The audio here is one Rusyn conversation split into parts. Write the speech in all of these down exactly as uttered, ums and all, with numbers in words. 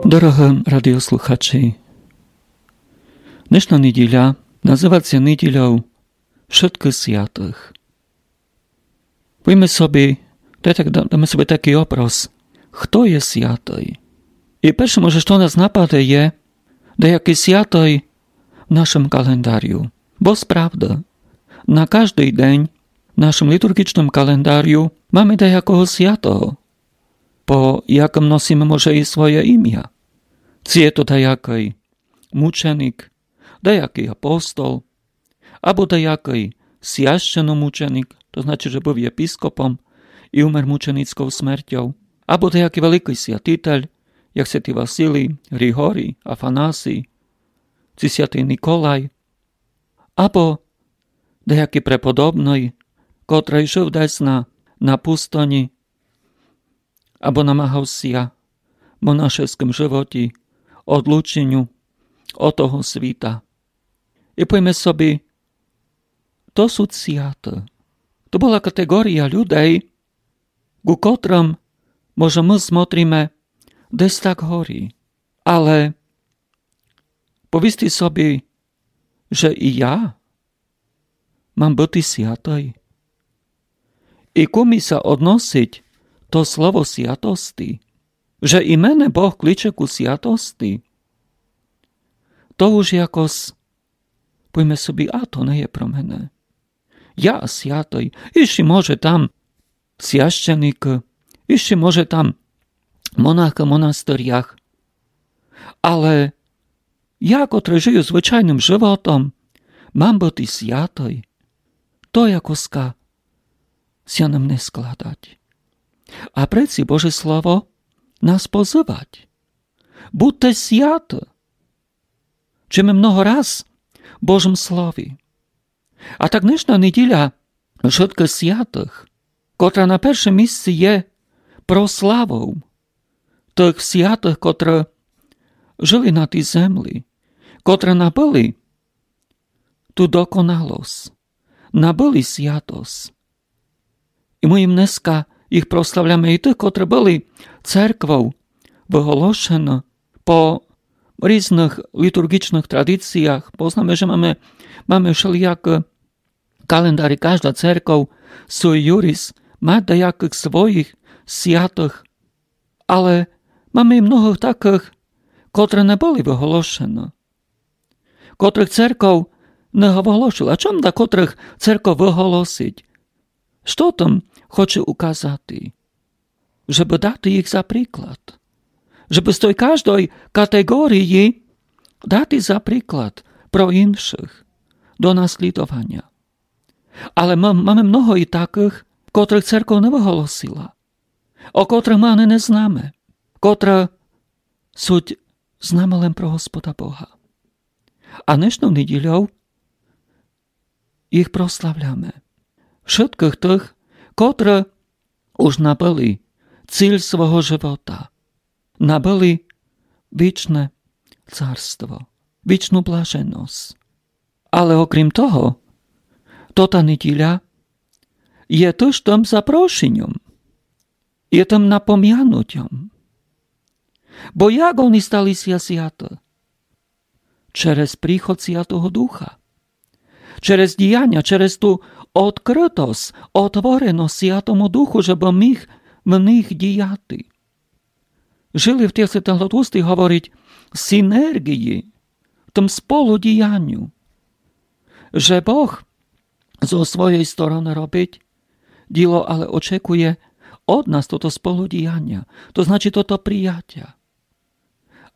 Дорогы радіослухачі, днешна неділя называц ся неділяв Вшыткых Святых. Повіме собі, то є так, да-, даме собі такій образ, хто є святый. І перше, може, што нас нападе, є деякій святый в нашым календарю. Бо справда, на каждый день в нашым літурґічным календарю маме деякого святого, по якым носиме, може, і своє імя. Ци є то деякый мученік, деякый апостол, або деякый священномученік, то значить, же быв єпископом і умер мученіков смертьов, або деякый великый святитель, як святый Василій, Григорій, Афанасій, ци святый Николай, або деякый преподобный, котрый жыв десь на, на пустыни, або намагав ся в монашескым животі одлученю од того світа. І повіме собі, то суть святый. То была катеґорія людей, ку котрым, може, мы смотриме десь так горі. Але повісти собі, же і я мам быти святый. І ку ми ся односить то слово святости, же і мене Бог кличе ку святости, то уж якось, повіме собі, а то не є про мене. Я святый, іщі, може, там священікы, іщі, може, там монахы в монастырях. Але я, котрый жыю звычайным животом, мам быти святый. То якоска ся нам не складать. А преці Боже Слово нас позывать: будте святы. Чуєме много раз в Божым Слові. А так днешна неділя Вшыткых Святых, котра на першым місци є прославов тых святых, котры жыли на тій землі, котры набыли ту доконалосц, набыли святосц. І мы їм днеска їх прославляме, і тых, котры были церквов выголошены по різных літурґічных традиціях. Познаме, же маме, маме вшеліякы календарі, кажда церков sui iuris ма даякых своіх святых, але маме і многых такых, котры не были выголошены, котрых церков не выголошыла. Чом да котрых церков выголосить? Што там хоче указати? Жебы дати їх за приклад. Жебы з той каждой катеґорії дати за приклад про іншых до наслідованя. Але ма-, маме много і такых, котрых церков не выголосила, о котрых мы ани не знаме, котры суть з нами лем про Господа Бога. А днешнов неділяв їх прославляме. Вшыткых тых, котры уж набыли ціль свого живота, набыли вічне царство, вічну блаженосц. Але окрім того, тота неділя є тыж тым запрошеньом, є тым напомянутьом. Бо як они стали ся святы? Через приход Святого Духа. Через діяня, через ту одкрытосц, отвореносц Святому Духу, жебы міг в них діяти. Жыли в тых, як святый Тлустый говорить, синерґії, в тым сполудіяню. Же Бог зо своєй стороны робить діло, але очекує од нас тото сполудіяня, то значить тото приятя.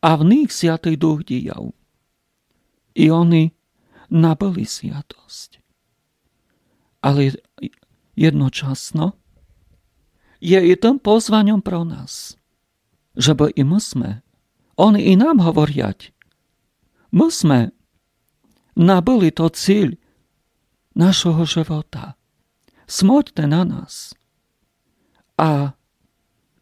А в них Святый Дух діяв. І они набыли святосц. Але єдночасно є і тым позваньом про нас, жебы і мы сме, они і нам говорять, мы сме набыли то ціль нашого живота. Смотрте на нас. А